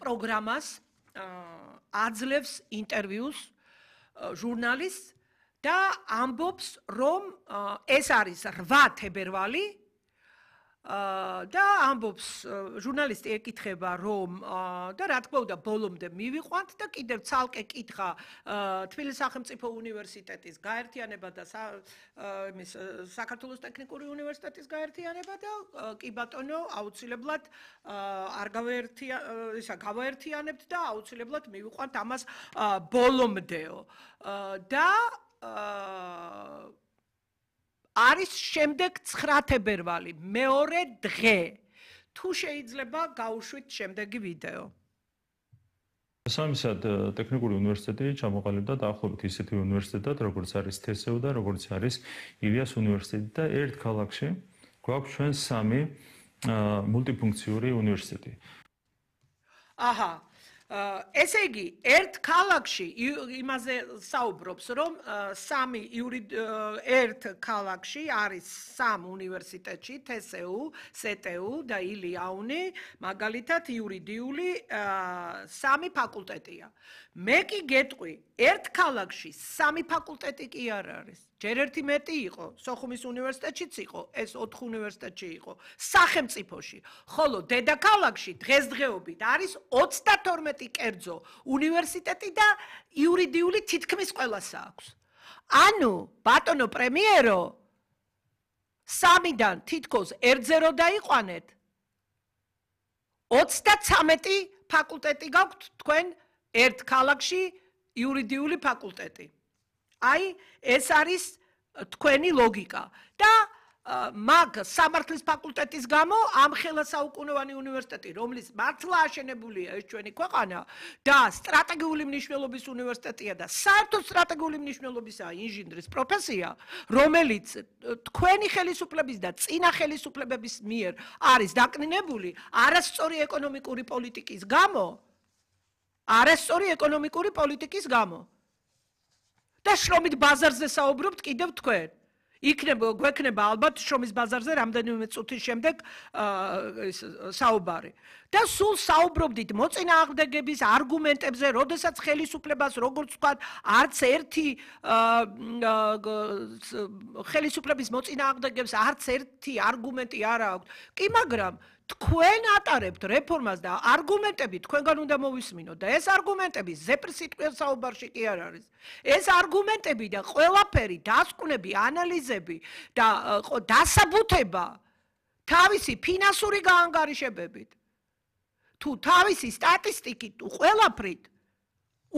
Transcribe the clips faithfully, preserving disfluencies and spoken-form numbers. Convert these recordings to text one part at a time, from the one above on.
პროგრამას აძლევს ინტერვიუს ჟურნალისტს და ამბობს, რომ ეს არის რვა თებერვალი და ამბობს ჟურნალისტი ეკითხება, რომ და რა თქმა უნდა ბოლომდე მივიყვანთ და კიდევ ცალკე კითხა თბილისის სახელმწიფო უნივერსიტეტის გაერთიანება და იმის საქართველოს ტექნიკური უნივერსიტეტის გაერთიანება და კი ბატონო აუცილებლად არ გავაერთია ისა გავაერთიანებთ და აუცილებლად მივიყვანთ ამას ბოლომდეო და არის შემდეგ ცხრა თებერვალი, მეორე დღე. თუ შეიძლება გავუშვით შემდეგი ვიდეო. Სამისად ტექნიკური უნივერსიტეტი ჩამოყალიბდა დაახლოებით ისეთი უნივერსიტეტად, როგორც არის თესეუ და როგორც არის ილიას უნივერსიტეტი და ერთ ქალაქში გვაქვს ჩვენ სამი მულტიფუნქციური უნივერსიტეტი. აჰა ესე იგი, ერთ ქალაქში იმაზე საუბრობს, რომ სამი ერთ ქალაქში არის სამ უნივერსიტეტში, თესეუ, სეტეუ და ილიაუნი, მაგალითად იურიდიული სამი ფაკულტეტია. მე კი გეტყვი, ერთ ქალაქში სამი ფაკულტეტი კი არ არის. ჯერ ერთი მეტი იყო, სოხუმის უნივერსიტეტშიც იყო, ეს ოთხ უნივერსიტეტში იყო, სახელმწიფოში. ხოლო დედაქალაქში დღესდღეობით არის ოცდათორმეტი კერძო უნივერსიტეტი და იურიდიული თითქმის ყველასა აქვს. ანუ, ბატონო პრემიერო, სამიდან თითქოს ერთზე რო დაიყვანეთ, ოცდაცამეტი ფაკულტეტი გაქვთ თქვენ ერთ ქალაქში იურიდიული ფაკულტეტი. აი, ეს არის თქვენი ლოგიკა და მაგ სამართლის ფაკულტეტის გამო ამ ხელასაუკუნოვანი უნივერსიტეტი, რომლის მართლა აშენებულია ეს ჩვენი ქვეყანა და სტრატეგიული მნიშვნელობის უნივერსიტეტია და საერთოდ სტრატეგიული მნიშვნელობისაა ინჟინრის პროფესია, რომელიც თქვენი ხელისუფლების და წინა ხელისუფლებების მიერ არის დაკნინებული არასწორი ეკონომიკური პოლიტიკის გამო, არასწორი ეკონომიკური პოლიტიკის გამო. და შრომით ბაზარზე საუბრობთ კიდევ თქვენ. იქნება გვექნება ალბათ შრომის ბაზარზე რამდენიმე წუთის შემდეგ საუბარი. და სულ საუბრობდით მოწინააღმდეგების არგუმენტებზე, როდესაც ხელისუფლებას როგორც ვთქვათ, არც ერთი ხელისუფლების მოწინააღმდეგებს არც ერთი არგუმენტი არ აქვს. კი, მაგრამ თქვენ ატარებთ რეფორმას და არგუმენტები თქვენგან უნდა მოვისმინოთ და ეს არგუმენტები ზეპრის სიტყვის საუბარში კი არ არის. ეს არგუმენტები და ყველაფერი, დასკვნები, ანალიზები და დასაბუთება თავისი ფინანსური გაანგარიშებებით. თუ თავისი სტატისტიკით, თუ ყველაფრით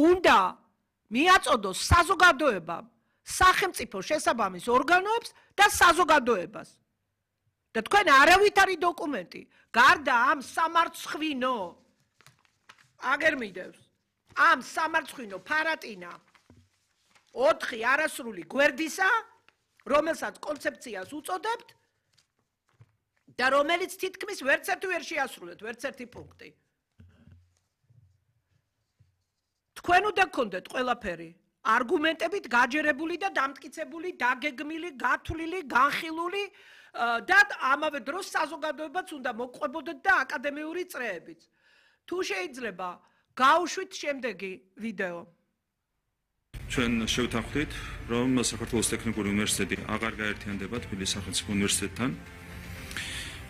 უნდა მიაწოდოს საზოგადოებამ, სახელმწიფო შესაბამის ორგანოებს და საზოგადოებას. და თქვენ არავითარი დოკუმენტი, გარდა ამ სამარცხვინო, აგერ მიდევს, ამ სამარცხვინო ფარატინა ოთხი არასრული გვერდისა, რომელსაც კონცეფციას უწოდებთ და რომელიც თითქმის ვერც ერთი ვერ შეასრულეთ, ვერც ერთი პუნქტი. თქვენ უნდა გქონდეთ ყველაფერი არგუმენტებით გაჯერებული და დამტკიცებული, დაგეგმილი, გათვლილი, განხილული და ამავე დროს საზოგადოებაც უნდა მოყვებოდეთ და აკადემიური წრეებით. თუ შეიძლება, გავუშვით შემდეგი ვიდეო. ჩვენ შევთანხმდით, რომ საქართველოს ტექნიკური უნივერსიტეტი აღარ გაერთიანდება თბილისის სახელმწიფო უნივერსიტეტთან.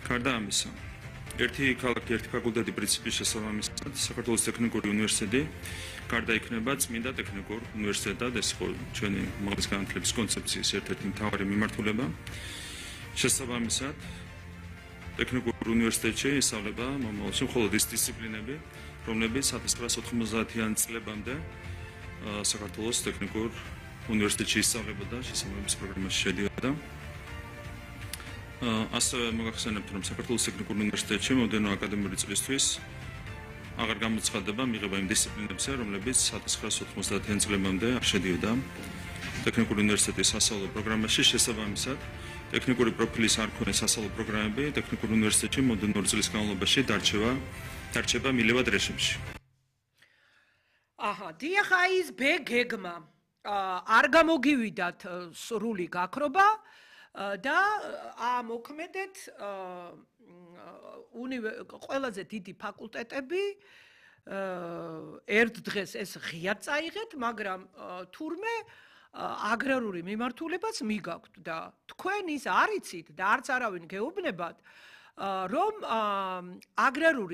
გარდა ამისა, ერთი ქალაქი, ერთი ფაკულტეტი პრინციპის შესაბამისად, საქართველოს ტექნიკური უნივერსიტეტი გარდა იქნება წმინდა ტექნიკურ უნივერსიტეტად, ეს იყო ჩვენი უმაღლესი განათლების კონცეფციის ერთ-ერთი მთავარი მიმართულება. შესაბამისად, ტექნიკურ უნივერსიტეტში ისწავლება მომავალში მხოლოდ ის დისციპლინები, რომლებიც ათას ცხრაასი ოთხმოცდაათიან წლებამდე საქართველოს ტექნიკურ უნივერსიტეტში ისწავლებოდა, შესაბამის პროგრამაში შედიოდა. ასევე მოგახსენებთ, რომ საქართველოს ტექნიკურ უნივერსიტეტში მომდევნო აკადემიური წლისთვის აღარ გამოცხადდება მიღება იმ დისციპლინებზე, რომლებიც ათას ცხრაასი ოთხმოცდაათიან წლებამდე არ შედიოდა ტექნიკური უნივერსიტეტის სასწავლო პროგრამაში. შესაბამისად, ტექნიკური პროფილის არ ქონე სასწავლო პროგრამები ტექნიკურ უნივერსიტეტში მომდევნო ორი წლის განმავლობაში დარჩება დარჩება მილევად რეჟიმში. აჰა, დიახ, აი ეს ბ გეგმა არ გამოგივიდათ სრული გაქრობა და ამოქმედეთ ყველაზე დიდი ფაკულტეტები ერთ დღეს ეს ღიად წაიღეთ, მაგრამ თურმე აგრარული მიმართულებაც მიგაქვთ და თქვენ ის არ იცით და არც არავინ გეუბნებათ, რომ აგრარული